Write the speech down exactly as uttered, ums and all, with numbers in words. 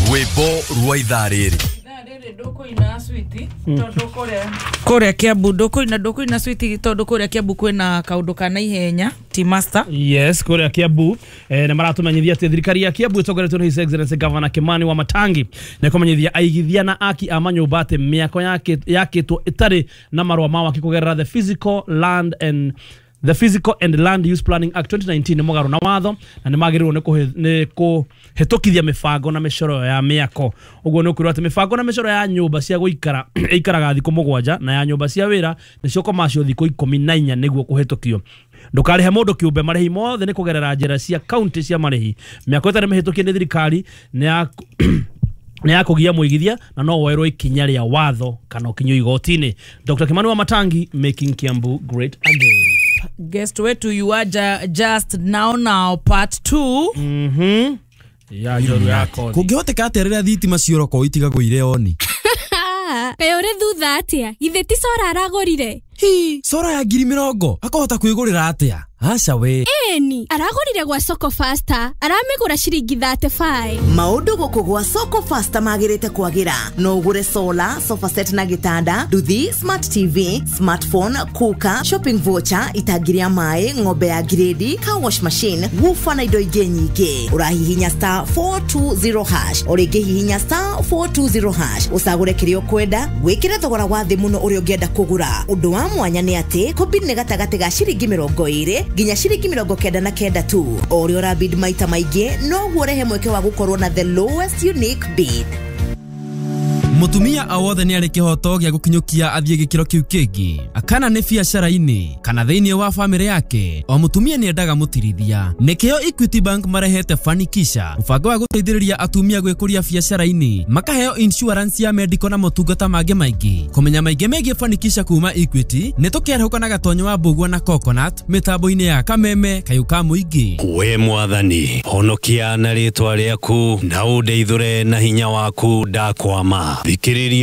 Rwĩmbo rwa ithaa rĩrĩ. Ndũkũina switi tondũ kũrĩa kũrĩa Kiambu ndũkũina ndũkũina switi tondũ kũrĩa Kiambu kwĩna kaũndũ ka naihenya T Master. Yes, kũrĩa Kiambu eh, nĩ maratumenyithia atĩ thirikari ya Kiambu ĩtongoretio nĩ His Excellency Governor Kimani wa Matangi nĩ kũmenyithia aigithia na aki a manyũmba atĩ mĩako yakĩtwo ĩtarĩ na marũa ma waki kũgerera the Physical Land and The Physical and Land Use Planning Act twenty nineteen nĩ mũgarũ na watho na nĩ magĩrĩirwo nĩ kũhĩtũkithia mĩbango na mĩcoro ya mĩako. Ũguo nĩ ũkwĩrwo atĩ mĩbango na mĩcoro ya nyũmba cia gũikara ĩikaraga thikũ mũgwanja na ya nyũmba cia wĩra nĩcio commercial thikũ ikũmi na inya nĩguo kũhĩtũkio. Ndũkarĩhe mũndũ kĩũmbe, marĩhi mothe nĩ kũgerera njĩra cia county cia marĩhi. Mĩako ĩtarĩ mĩhĩtũkie nĩ thirikari nĩ ya nĩ ya kũgia mũigithia na no woerwo ikinya rĩa watho kana ũkinyio igoti-inĩ. Doctor Kimani wa Matangi, making Kiambu great again. Guest wetu you are just now now part two. Mhm. Ya njoru yako. Kũngĩhoteka atĩa rĩrĩa thitima cioroko itigagwo irĩ oni? Kaĩ ũrĩ thutha atĩa? Githĩ ti cora aragũrire? Hi, cora ya ngiri mĩrongo akahota kwĩgũrĩra atĩa? Aca we. Ĩni, aragũrire gwa Soko Faster, aramĩgũra ciringi thirty five. Maũndũ gũkũ gwa Soko Faster magĩrĩte kwagĩra. No ũgũre solar, sofa set na gĩtanda, nduthi, smart T V, smartphone, cooker, shopping voucher, itangi rĩa maĩ, ng'ombe ya grade, car wash machine, woofer na indo ingĩ nyingĩ. Ũrahihinya star four two zero hash, o rĩngĩ hihinya star four two zero hash, ũcagũre kĩrĩa ũkwenda, wĩkĩre thogora wa thĩ mũno ũrĩa ũngĩenda kũgũra. Ũndũ wa mwanya nĩ atĩ kũbid nĩ gatagatĩ ga ciringi mĩrongo ĩrĩ nginya ciringi mĩrongo kenda na kenda tu. O ũrĩa ũrabid maita maingĩ noguo ũrehe mweke wa gũkorwo na the lowest unique bid. Mutumia o wothe nĩ arĩ kĩhoto gĩa gũkinyũkia athiĩ gĩkĩro kĩu kĩngĩ, kana nĩ biacara-inĩ kana thĩinĩ wa bamĩrĩ yake. O mũtumia nĩ endaga mũtirithia. Nĩkĩo Equity Bank marehete Fanikisha, mũbango wa gũteithĩrĩria atumia gwĩkũria biacara-inĩ, makaheo insurance ya medical na motungata mangĩ maingĩ. Kũmenya maingĩ megiĩ Fanikisha kuma Equity nĩ tũkĩarahũka na Gatonyo wa Mbũgua na Coconut mĩtambo-inĩ ya Kameme kayũ ka mũingĩ. We mwathani, honokia na rĩtwa rĩaku na ũndeithũre na hinya waku ndakwama. Thikĩrĩria.